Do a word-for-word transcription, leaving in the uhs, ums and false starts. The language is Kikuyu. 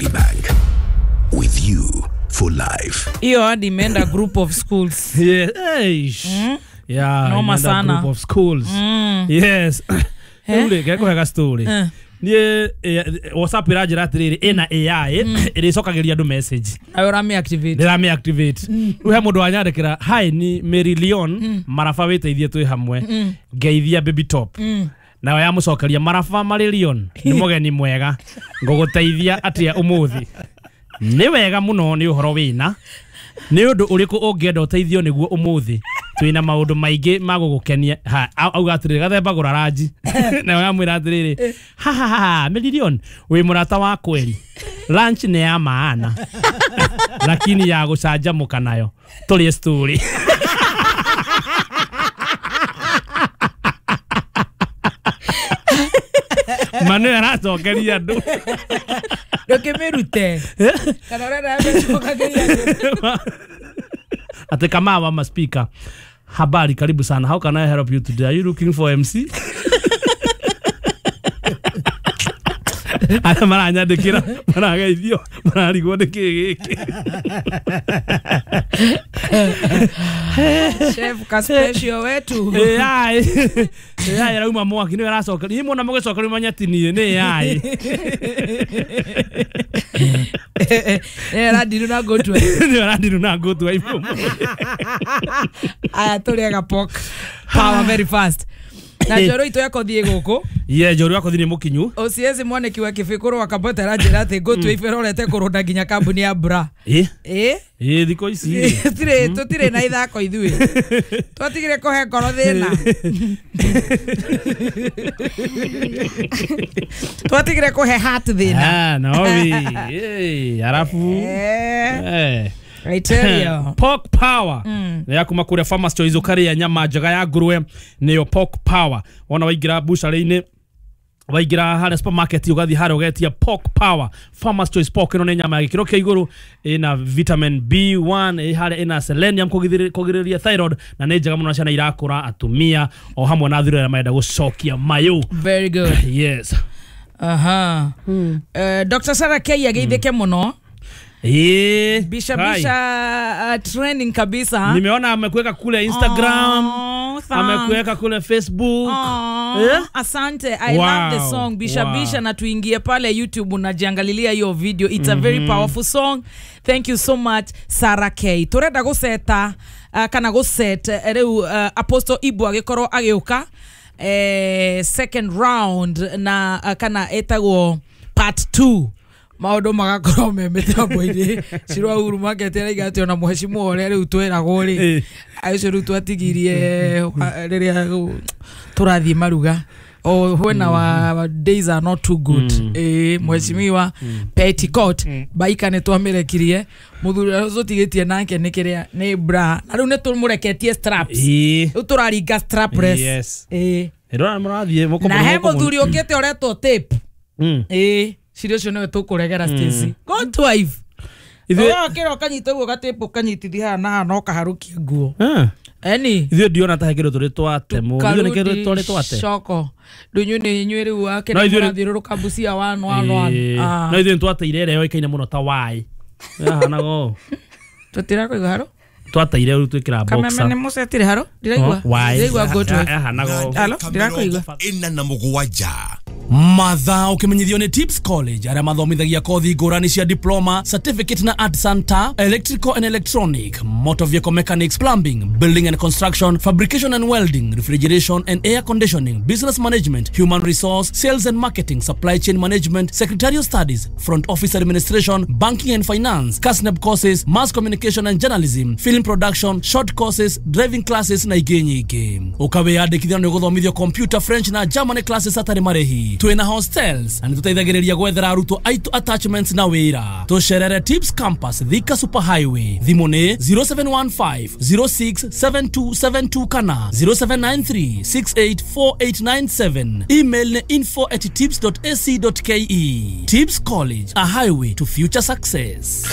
Equity Bank. With you for life. Hiyo hadi imeenda group of schools. Yeah. Eish. Yeah, Noma imeenda sana. Group of schools. Mm. Yes. Eh? Rĩu rĩ, ngekũhe story. Eh. Niĩ eh, WhatsApp ĩranjĩra atĩrĩrĩ ĩna A I ĩrĩcokagĩria andũ message. Ayo ũrami activate. Ndĩramĩ activate. Rĩu he mũndũ wanyandĩkĩra, "Hi, ni Mary Leon Maraba, wĩteithie twĩ hamwe, ngeithia Baby Top." Nayo yamũcokeria, "Maraba Mary Leon nĩ mũgeni mwega, ngũgũteithia atĩa ũmũthĩ?" "Nĩ wega mũno, nĩ ũhoro wĩna nĩ ũndũ ũrĩkũ ũngĩenda ũteithio nĩguo ũmũthĩ? Twĩna maũndũ maingĩ ma gũgũkenia." Ha, au- auga atĩrĩrĩ, "Gathemba gũra ranji." Nayo yamwĩra atĩrĩrĩ, "Ha ha ha, Mary Leon wĩ mũrata wa kweri, lunch nĩ ya maana lakini ya gũcanjamũka nayo tũrĩe story." Manu aracokeria andũ. Ndũkĩmĩrute. Kana ũrenda yamĩcokagĩria. Ate kama wa speaker, "Habari, karibu sana. How can I help you today? Are you looking for M C?" Arĩa maranyandĩkĩra marageithio, mararigwo nĩ kĩ gĩkĩ. Chef ka special wetu. A I A I arauma mwaki nĩwe aracokeria. Inyuĩ muona mũgĩcokeria manya ti niĩ, nĩ A I. Eh, radiru na go to. Nĩwe arandiru na ngũtua ibu. Aya, tũrĩaga pork power very fast. Na njoro itũ yakothiĩ gũkũ. Ye njoro yakwa nĩ mũkinyu. O C S mwaneki wa kĩbĩkũrũ wa Kabota aranjĩra atĩ ngũtue iberorete kũrũnda nginya kambuni ya bra. Ĩ. Ĩ. Ĩ, thikũ ici rĩ. Tũtirĩ tũtirĩ na ithako ithuĩ. Twatigire kũhe ngoro thĩna. Twatigire kũhe heart thĩna. Ah, Naomi. Eh, alafu Eh, eh. I tell you. Pork Power nĩ ya kuma kũrĩa Farmers Choice, ũkarĩa nyama njega ya ngũrwe nĩyo Pork Power. Wona waingĩra bucarĩ-inĩ, waingĩra harĩa supermarket, ũgathiĩ harĩa ũgetia Pork Power Farmers Choice Pork. Ĩno nĩ nyama ya gĩkĩro kĩa igũrũ, ĩna vitamin B one, ĩ harĩa ĩna selenium kũgirĩrĩria kũgirĩrĩria thyroid, na nĩ njega mũno na ciana irakũra, atumia o hamwe na athuri arĩa marenda gũcokia mayũ. Very good. Yes. Aha. Eh, Doctor Sarah K ageithĩke mũno. Ĩĩ. Bisha Hai. bisha uh, trending kabisa. Nimeona amekuweka kule Instagram, Oh, thanks. amekuweka kule Facebook. Aw, Eh? Asante. I Wow, love the song Bisha wow. Bisha, na tuingie pale YouTube unajiangalilia hiyo video. It's a very powerful song. Thank you so much, Sarah K. Turenda gũceta uh, kana gũset uh, rĩu uh, Apostle Ibu agĩkorwo agĩũka eh, second round na uh, kana ĩtagwo part two, maũndũ magakorwo me mĩtambo-inĩ. Cirwa Uhuru Market araiga atĩ ona mũhecimwo ũrĩa rĩu twĩragwo rĩ, Eh. ũcio rĩu twatigirie wa- rĩrĩa tũrathiĩ maruga o when our days are not too good. Eh, mheshimiwa petticoat baika nĩ twamĩrekirie, mũthuri ũrĩa tũtigĩtie nake nĩ kĩrĩa nĩ bra, na rĩu nĩ tũmũreketie straps. Ĩĩ. Rĩu tũraringa strapless. Yes. Ĩĩ. Ĩrora mũrathiĩ mũkũ- Na he mũkũ- mũthuri ũkĩte ũretwo tape. Mm. Ĩĩ, ciri ũcio nĩwe tũkũregera. Stacy, go to wife. Ithuĩ- Ũkĩra ũkanyita ũguo gatĩpũ, ũkanyitithia haha na haha na ũkaharũkia nguo. Ah. Eni. Ithuĩ ndiona ta he kĩndũ tũrĩ twate mũno. Ithuĩ nĩ kĩndũ tũrĩ twate. Coko ndunyu nĩ inyuĩ rĩu wake No, nĩ ithuĩ- mũrathiũrũrũka Busia one one one. Ĩĩ. Ah. No ithuĩ nĩtwateire ĩrĩa yoĩkaine mũno ta wai yahanaga ũũ. Tũtirakuigua haro. Twateire rĩu twĩkĩra Kameme boxer. nĩ mũcetire haro, ndiraigua. Oh, wai. Ndiraigua good wife. Yahanaga ũũ. Halo, ndirakuigua. Ĩna na mũgwanja. Mathaa ũkĩmenyithio nĩ Tips College, arĩa mathomithagia kothi ngũrani cia diploma, certificate na artisan ta electrical and electronic, motor vehicle mechanics, plumbing, building and construction, fabrication and welding, refrigeration and air conditioning, business management, human resource, sales and marketing, supply chain management, secretarial studies, front office administration, banking and finance, KASNEB courses, mass communication and journalism, film production, short courses, driving classes na ingĩ nyingĩ. Ũkawĩyandĩkithia nĩ ũgũthomithio computer, French na Germany classes hatarĩ marĩhi. Twĩna hostels na nĩtũteithagĩrĩria gwethera arutwo aitũ attachments na wĩra. Tũcerere Tips Campus, Thika Super Highway. Thimũ nĩ zero seven one five zero six seven two seven two kana zero seven nine three six eight four eight nine seven. Email nĩ info at tips dot ac dot ke. Tips College, a highway to future success.